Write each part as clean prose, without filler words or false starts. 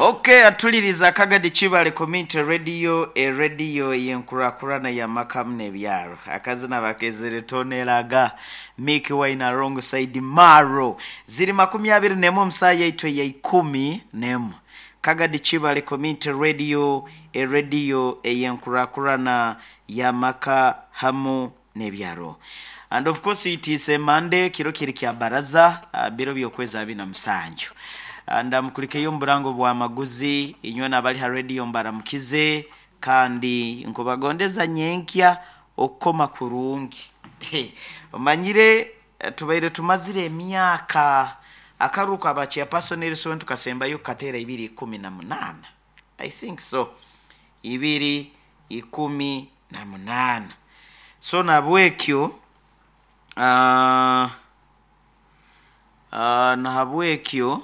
Okay, atuliriza Kagadi Kibale Community Radio, erediyo yenkurakurana y'amaka n'ebyaro. Akazina bakezere tonelaga Mickey Wine alongside Maro. Ziri 21 omusaa yaitu eya 11. Kagadi Kibale Community Radio, erediyo eyenkurakurana y'amaka hamu n'ebyaro. And of course it is a Monday, kiro kiri kya baraza, biro by'okwezi 27. Ndamukulikeyo omu burango bw'amaguzi, inywena abali ha rediyo mbaramukize, kandi nkubagondeza nyenkya okukoma kurungi. Omanyire tubaire tumazire emyaka akaruru ka ba chairperson Nelson tukasembayo kukateera 2018. I think so. 2018. So nahabwekyo nahabwekyo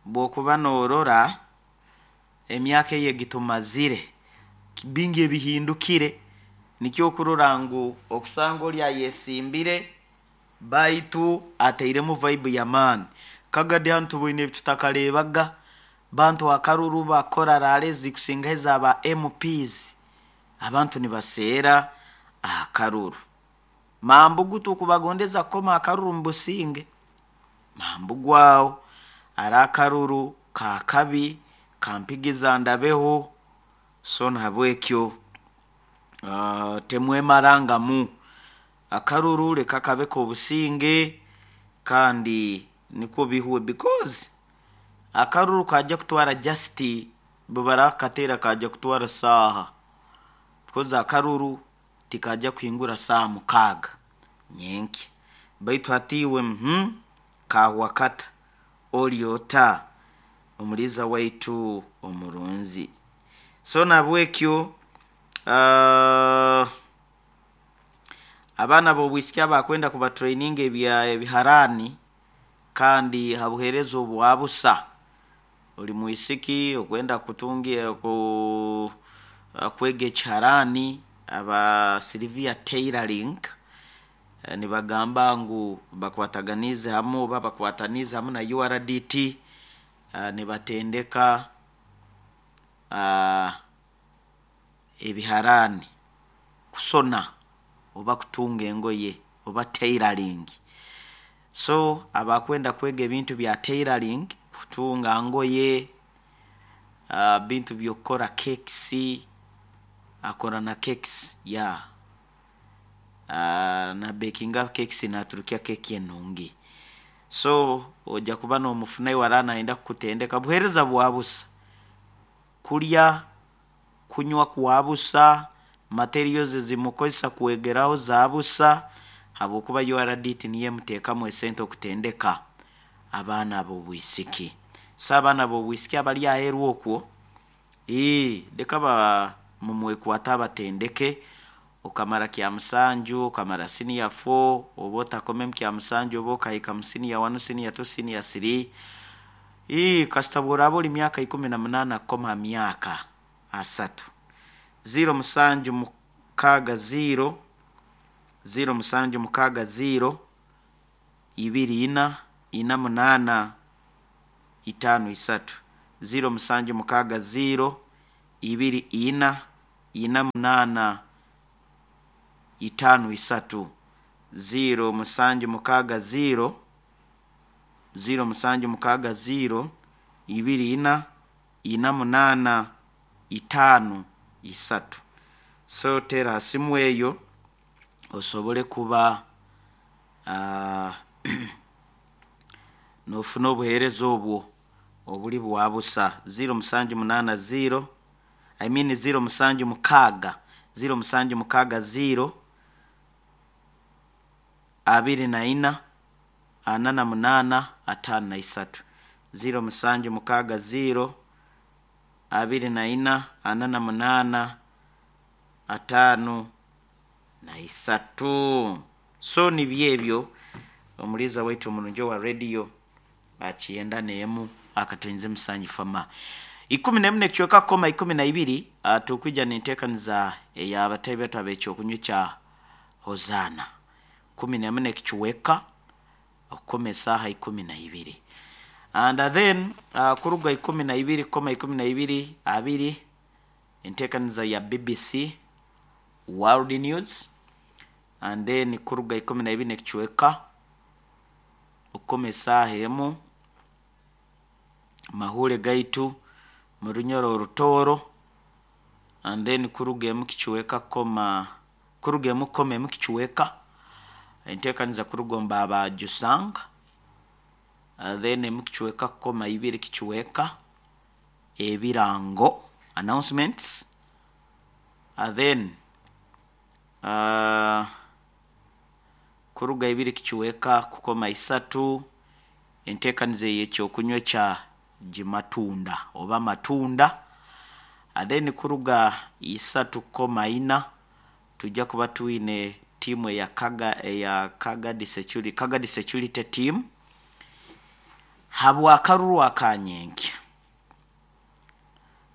bw'okuba noorora emyaka eyo egitumazire bingi ebihindukire nikyo okurora ngu okusanga oli ayesimbire baitu atairemu vibe y'amaani. Kagadi hanu tuboine ebitutakareebaga, bantu akaruru bakora raale ezikusingaho eza ba MPs, abantu nibaseera akaruru. Mambugu tukubagondeza kukoma akaruru mu businge, mambugu aho ari akaruru kakabi kampigiza ndabeho, so nahabwekyo temwemarangamu. Akaruru leka kabe k'obusinge kandi nikwo bihwe because akaruru kajya kutwara just bwebarakateera kajya kutwara saaha because akaruru tikajya kuhingura saaha 6 nyenkya baitu hati iwe kahwa kata ori ota omuliiza waitu omurungi. So nahabwekyo abaana b'obwisiki abakwenda kubatraininga ebiharaani kandi ha buheereza obwa busa, ori mwisiki okwenda kutunga kwega ekiharaani aba Sylvia Tailoring nibagamba ngu bakwataganiize hamu oba bakwataniize hamu na URDT nibatendeka ebiharaani kusona oba kutunga engoye oba tailoring. So abakwenda kwega ebintu bya tailoring, kutunga ngoye, bintu by'okukora cakes, akora na cakes yeah, nabekinga cakes naturukya keki enungi. So ojja kuba nomufunayo araba nayenda kukutendeka, buheereza bwa busa, kulya, kunywa kwa busa, materials ezimukozesa kwegeraho za busa habwokuba URDT niyo emuteekamu esente okutendeka abaana ab'obwisiki. So abaana b'obwisiki abari aheeru okwo, leka mumwekwate abatendeke, okamara kyamusanju, okamara senior 4, oba otakomemu kyamusanju oba okahika mu senior 1, senior 2, senior 3, kasita bw'oraaba ori myaka 18 kukoma ha myaka 30. 0 7 6 0 0 7 6 0 2 4 4 8 5 3 0 7 6 0 2 4 4 8 5 3 0 7 6 0 0 7 6 0 2 4 4 8 5 3. So teera ha simu eyo osobole kuba nofuna obuheereza obwo oburi bwa busa. 0 7 8 0 I mean 0 7 6 0 7 6 0 24 48 53 0 7 6 0 24 48 53. So nibyo ebyo omuliiza waitu omurungi owa rediyo akiyenda n'emu akatoinze musanju fama 11 ekicweka kukoma 12 tukwija ninteekaniza ey'abatahi baitu ab'ekyokunywa ekya Hozaana 11 ekicweka okukoma esaaha 12. And then kuruga 12 koma 12 abiri enteekaniza ya BBC World News, and then kuruga 12 n'ekicweka okukoma esaaha emu mahuure gaitu mu Runyoro Orutooro, and then kuruga emu kicweka kukoma kuruga emu kukoma emu kicweka enteekaniza kuruga omu ba Jusang, then emu kicweka kukoma ibiri kicweka ebirango announcements, then kuruga ibiri kicweka kukoma isatu enteekaniza ey'ekyokunywa ekya gimatunda oba matunda, then kuruga isatu kukoma ina twija kuba twine tiimu eya Kaga eya Kagadi Security, Kagadi Security Team habw'akaruru aka nyenkya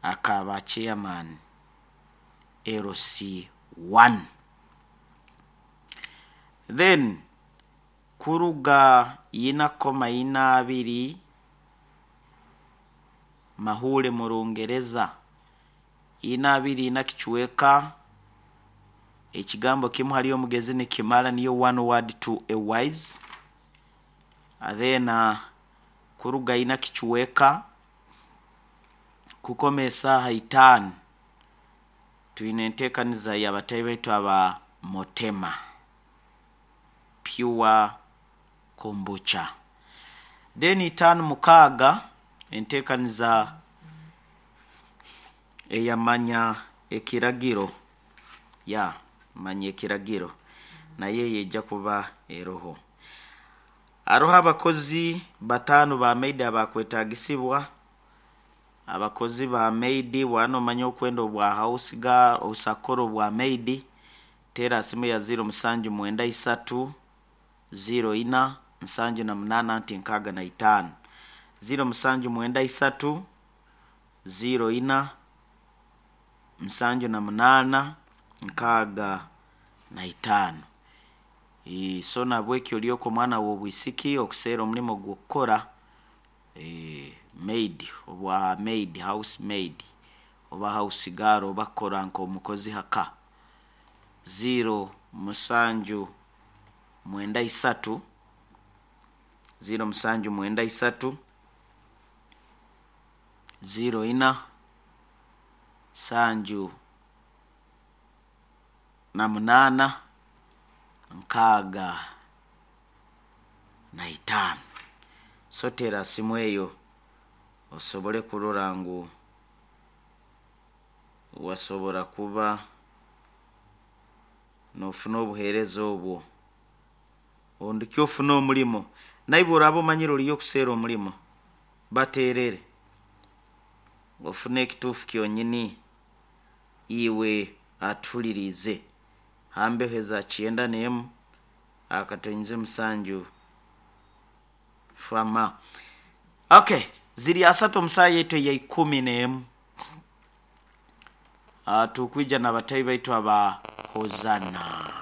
aka ba chairman LC1. Then kuruga ina kukoma ina abiri mahuure mu Rungereza ina abiri ina kicweka ekigambo kimu hali omugezi nikimara niyo one word to a wise, then kuruga ina kicweka kukoma esaaha itaano twine enteekaniza y'abataahi baitu aba Motema Pure Kombucha. Then itaano mukaaga enteekaniza eyamanya ekiragiro ya manya ekiragiro nayo eija kuba eroho. Haroho abakozi bataano ba maid abakwetaagisibwa, abakozi ba maid bwaba nomanya okwenda obwa house girl osobola kukora obwa maid, teera simu ya 0793 04 78 anti 65 0793 04 78 65. So nahabweki ori oku omwana w'obwisiki okuseera omulimo gw'okukora maid obwa maid house maid oba house girl oba kukora nk'omukozi ha ka 0793 0793 04 78 65. So teera simu eyo osobole kurora ngu wasobora kuba noofuna obuheereza obwo orundi ofune omulimo. Naiwe oraaba omanyire oriyo okuseera omulimo bateerere ofune ekituufu kyonyini iwe atuhuliriize ha mbeho eza 91 akatonyeze 7 fama. Okay, ziri asatu omu saaha yaitu eya 11. Tukwija n'abataahi baitu aba Hosanna.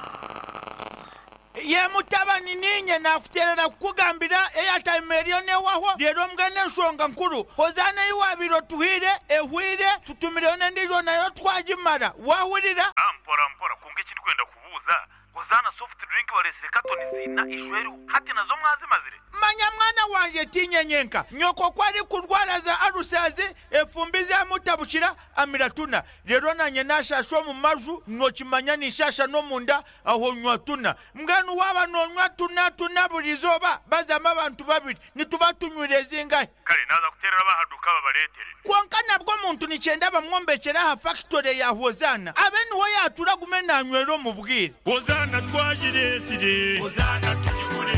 Ye mutabani, niinye naakuteerera kukugambira eyataima eriyo n'ewahwo. Reero mbwenu enshonga nkuru, Hozaana ei waabaire otuhaire ehweire, tutumireyo n'endiijo nayo twagimara. Waahurira? Mpora mpora, kwonka eki ndikwenda kubuuza, Hozaana soft drink bareetsire katoni ziina ishwa eriho, hati nazo mwazimazire? Manya mwana wangye, tiinye nyenka. Nyoko ku arikurwara za alusazi, efumbi zamutabukira, amira tuna. Reero naanye naashaasha omu maju, nookimanya ninshaasha n'omunda, aho nywa tuna. Mbwenu waaba noonywa tuna tuna buri izooba, bazamu abantu babiri, nituba tunywire zingahi? Kare naaza kuteerera ab'aha duuka babareetere. Kwonka nabwo omuntu nikyenda bamwombekyere aha fakitore ya Hozaana, abe niho yaatuura agume naanywera omu bwire. Hozaana twagireetsire. Hozaana tugigure.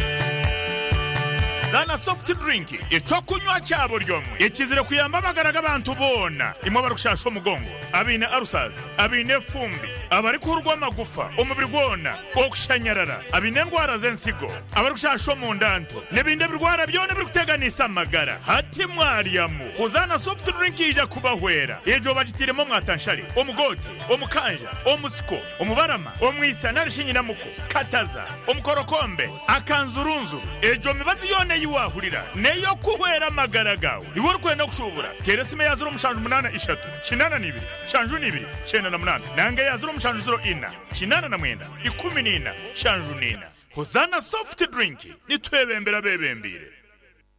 Zaana soft drink eky'okunywa kya buri omwe ekizire kuyamba amagara g'abantu boona imwe abarikushasha omugongo, abaine ulcers, abaine efumbi, abarikuhurwa amagufa omubiri gwona, okushanyarara, abaine endwara z'ensigo, abarikushasha omunda nto n'ebindi ebirwara byona ebirikuteganisa amagara. Hati mwaryamu, Hozaana soft drink yaija kubahwera. Egyo bagitairemu omwatanshare, omugoote, omukanja, omusiko, omubarama, omwisa nari shi nyinamuko, kataza, omukorokombe, akanzurunzuru. Egyo mibazi yoona ei waahurira n'ey'okuhwera amagara gaawe. Iwe orikwenda kushuubura, teera esimu eya 073 82 72 98 nanga eya 0704 89 14 74. Hozaana Soft Drink, nitwebembera abeebembeire.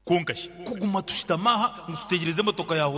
Kwonka shi kuguma tushutami aha ngu tutegyereze emotoka ya Hozaana?